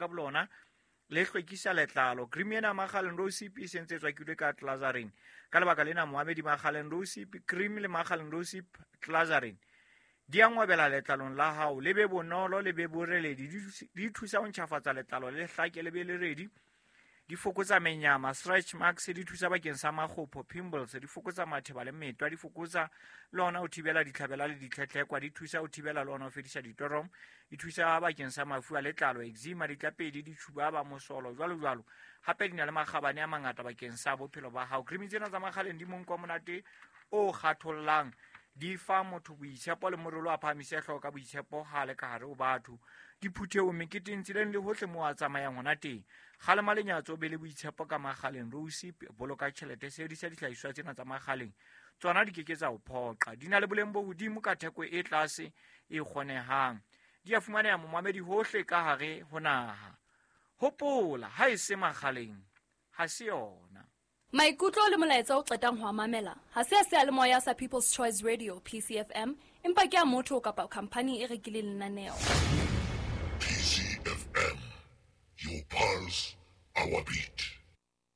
ka bolona le hlwekisa letlalo. Cream ena Makgaleng Rosip e sentse e tswakilwe ka glycerin. Ka lebaka lena moamedi, Makgaleng Rosip cream le Makgaleng Rosip glycerin di a ngwabela letlalong la hao, le be bonolo, le be boreledi. Di thusa ho ntjhafatsa letlalo, le hlake, le be leredi. Di fokotsa menyama, stretch marks. Di thusa bakeng sa makgopho, pimples. Di fokotsa matheba le metwa. Di fokotsa le ona ho thibela ditlhabela le ditlhetlhekwa. Di thusa ho thibela le ona ho fedisa ditorom. Di thusa bakeng sa mafu a letlalo, eczema, ditlapedi, ditšhuba, mosolo, jwalo jwalo. Hape di na le makgabane a mangata bakeng sa bophelo ba hao. Cream tsena tsa Makgaleng di monko monate o kgathollang, di fa motho boitshepo le morolo, a phahamise hlooho ka boitshepo ha le ka hare ho batho, diphuthehong, meketeng, tseleng le hohle moo a tsamayang hona teng. Kgalema lenyatso, be le boitshepo ka Makgaleng Rosip. Boloka tjhelete, sebedisa dihlahiswa tsena tsa Makgaleng. Tsona di ke ke tsa o phoqa. Di na le boleng bo hodimo ka theko e tlase e kgonehang. Di a fumaneha, momamedi, hohle ka hare ho naha. Hopola, ha e se Makgaleng ha se yona. Maikutlo le molaetsa o qetang ho a mamela ha se a seyalemoya sa People's Choice Radio, PCFM, empa ke a motho kapa khamphani e rekileng lenaneo. PCFM, your pulse, our beat.